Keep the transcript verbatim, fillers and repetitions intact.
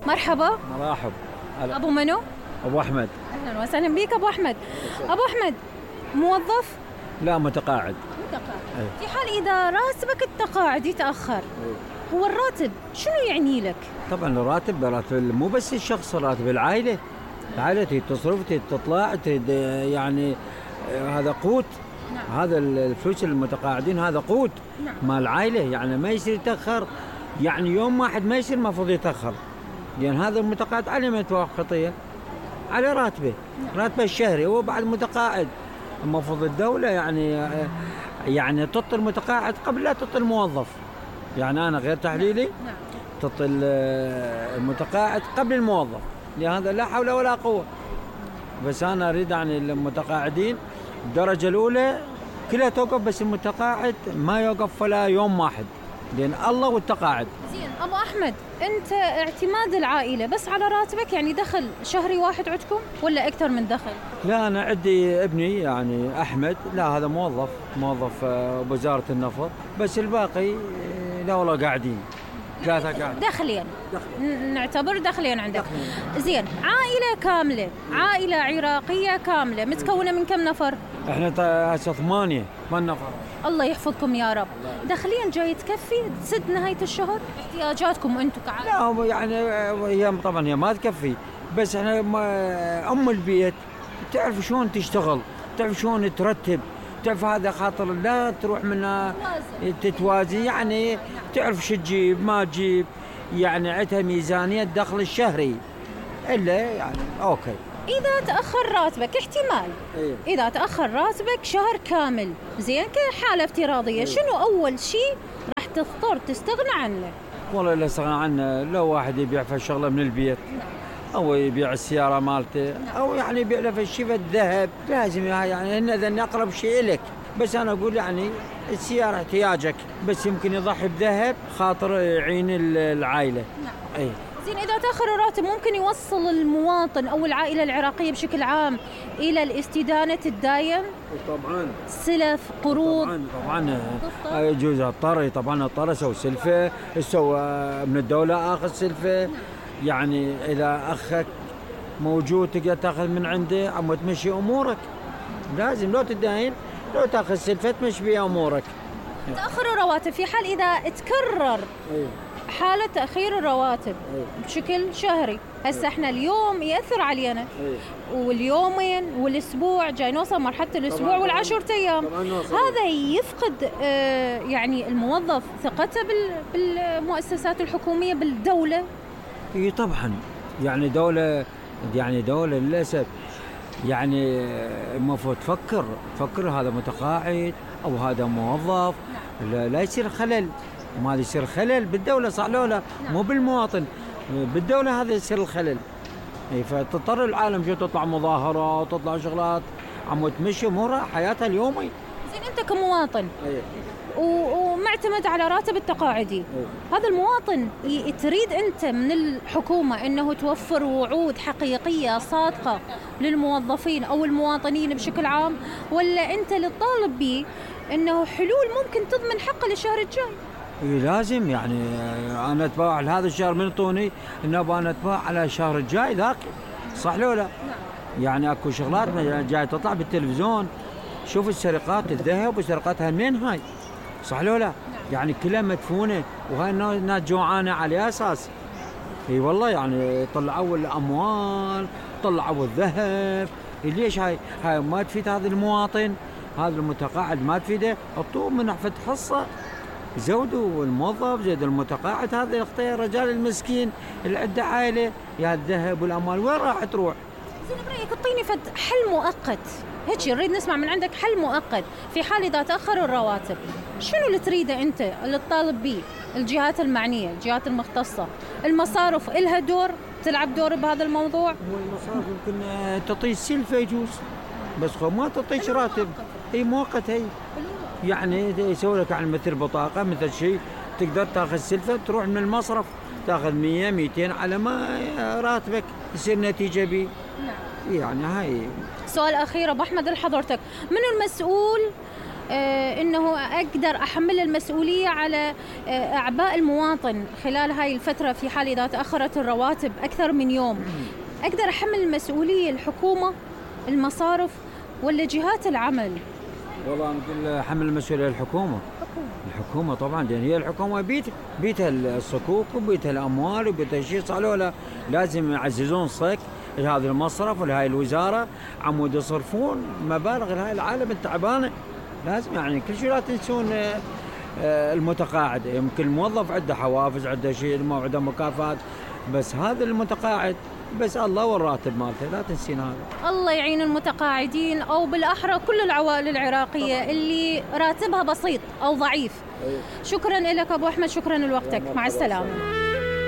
مرحبا. مرحب. ابو منو؟ ابو احمد. اهلا وسهلا بك ابو احمد. ابو احمد موظف؟ لا متقاعد. متقاعد. أي. في حال اذا راتبك التقاعد يتاخر، أي. هو الراتب شنو يعني لك؟ طبعا الراتب راتب مو بس الشخص، راتب العائله. العائله تريد تصرف، تريد تطلع، تريد يعني هذا قوت. نعم. هذا الفلوس المتقاعدين هذا قوت. نعم. مال العائله، يعني ما يصير يتاخر، يعني يوم واحد ما يصير المفروض يتاخر، لان يعني هذا المتقاعد عليه ما يتوقع خطيه، على راتبه. نعم. راتبه الشهري هو بعد متقاعد. المفروض الدوله يعني يعني تعطي المتقاعد قبل لا تعطي الموظف. يعني انا غير تحليلي. نعم. تعطي المتقاعد قبل الموظف، لهذا لا حول ولا قوه. بس انا اريد يعني المتقاعدين الدرجه الاولى كلها توقف، بس المتقاعد ما يوقف ولا يوم واحد، لان الله والتقاعد. زين ابو احمد، انت اعتماد العائله بس على راتبك، يعني دخل شهري واحد عندكم ولا اكثر من دخل؟ لا انا عندي ابني يعني احمد، لا هذا موظف موظف بوزاره النفط، بس الباقي لا والله قاعدين ثلاثه قاعد. دخلين دخلين نعتبر دخلين عندك. دخلين. زين، عائله كامله، عائله عراقيه كامله متكونه من كم نفر؟ احنا هسه ثمانيه ثمان نفر. الله يحفظكم يا رب. دخلين جاي تكفي تسد نهايه الشهر احتياجاتكم انتم كعائله؟ لا يعني هي طبعا هي ما تكفي، بس احنا ام البيت تعرف شلون تشتغل، تعرف شلون ترتب، تعرف هذا خاطر لا تروح منها تتوازي، يعني تعرف شو تجيب ما تجيب، يعني عندها ميزانية الدخل الشهري إلا يعني أوكي. إذا تأخر راتبك احتمال. إيه؟ إذا تأخر راتبك شهر كامل، زين كحالة افتراضية. إيه؟ شنو أول شيء راح تضطر تستغنى عنه؟ والله لا استغنى عنه، لو واحد يبيع في شغلة من البيت. نعم. أو يبيع السيارة مالته. نعم. أو يعني يبيع له في الشيء الذهب، لازم يعني إن إذا أقرب شيء لك. بس أنا أقول يعني السيارة احتياجك، بس يمكن يضحي بذهب خاطر يعين العائلة. نعم. أي. زين، إذا تأخر الراتب ممكن يوصل المواطن أو العائلة العراقية بشكل عام إلى الاستدانة الدايم؟ طبعا. سلف، قروض. طبعا طبعا يجوز اضطر، طبعا اضطر اسوي سلفة، اسوي من الدولة اخذ سلفة. نعم. يعني إذا أخك موجود تقدر تأخذ من عنده عم تمشي أمورك. لازم لو تداين لو تأخذ سلفة تمشي بها أمورك. تأخر الرواتب في حال إذا تكرر. أيه. حالة تأخير الرواتب. أيه. بشكل شهري، هسه احنا اليوم يأثر علينا. أيه. واليومين والأسبوع جاي نوصل مرحلة الأسبوع والعشرة أيام. هذا يفقد اه يعني الموظف ثقته بالمؤسسات الحكومية بالدولة. اي طبعا، يعني دولة يعني دولة للأسف يعني المفروض تفكر تفكر هذا متقاعد أو هذا موظف. لا, لا يصير خلل، ما يصير خلل بالدولة صح لو لا؟ مو بالمواطن، بالدولة هذا يصير الخلل. فتضطر العالم شو تطلع مظاهرات تطلع شغلات عم تمشي أمورها حياتها اليومي. زين أنت كمواطن. أيه. ومعتمد على راتب التقاعدي. أيه. هذا المواطن تريد أنت من الحكومة أنه توفر وعود حقيقية صادقة للموظفين أو المواطنين بشكل عام، ولا أنت اللي تطالب به أنه حلول ممكن تضمن حقه للشهر الجاي؟ إيه لازم، يعني أنا أتباع هذا الشهر من طوني إنه أنا أتباع على الشهر الجاي ذاك، صح لو لا؟ نعم. يعني أكو شغلات جاي تطلع بالتلفزيون، شوف السرقات الذهب وسرقتها منين هاي، صح لو لا؟ نعم. يعني كلها مدفونة، وهاي الناس جوعانة على أساس. اي والله يعني طلعوا الأموال طلعوا الذهب. ليش هاي هاي ما تفيد هذا المواطن، هذا المتقاعد ما تفيده. حطوه من نحفة حصة، زودوا الموظف زود المتقاعد، هذا يخطي الرجال المسكين اللي عنده عائلة. يا الذهب والأموال وين راح تروح؟ زين برأيك اعطيني فد حل مؤقت هيك، نريد نسمع من عندك حل مؤقت في حال إذا تأخروا الرواتب. شنو اللي تريده أنت اللي تطالب به؟ الجهات المعنية، الجهات المختصة، المصارف إلها دور تلعب دور بهذا الموضوع؟ هو المصارف يمكن تعطي سلفة يجوز، بس ما تعطيش راتب. هي مؤقت، هي يعني يسوي لك عن مثل بطاقة مثل شيء تقدر تاخذ سلفة تروح من المصرف تاخذ مية ميتين على ما راتبك يصير نتيجة بي. نعم. يعني هاي. سؤال أخير أبو أحمد لحضرتك، من المسؤول آه، انه اقدر احمل المسؤوليه على آه، اعباء المواطن خلال هاي الفتره، في حال اذا تاخرت الرواتب اكثر من يوم اقدر احمل المسؤوليه الحكومه، المصارف، ولا جهات العمل؟ والله انا اقول حمل المسؤوليه الحكومه. الحكومه طبعا، لان هي الحكومه بيت بيتها الصكوك وبيتها الاموال وبيتها شيء، صار لازم يعززون صك هذا المصرف ولهاي الوزاره، عمود يصرفون مبالغ لهاي العالم التعبانه. لازم يعني كل شيء لا تنسون المتقاعد. يمكن الموظف عنده حوافز، عنده شيء، عنده مكافآت، بس هذا المتقاعد بس الله والراتب مالته، لا تنسين هذا. الله يعين المتقاعدين، او بالاحرى كل العوائل العراقيه طبعا اللي راتبها بسيط او ضعيف. أيه. شكرا لك ابو احمد، شكرا لوقتك، مع السلامه.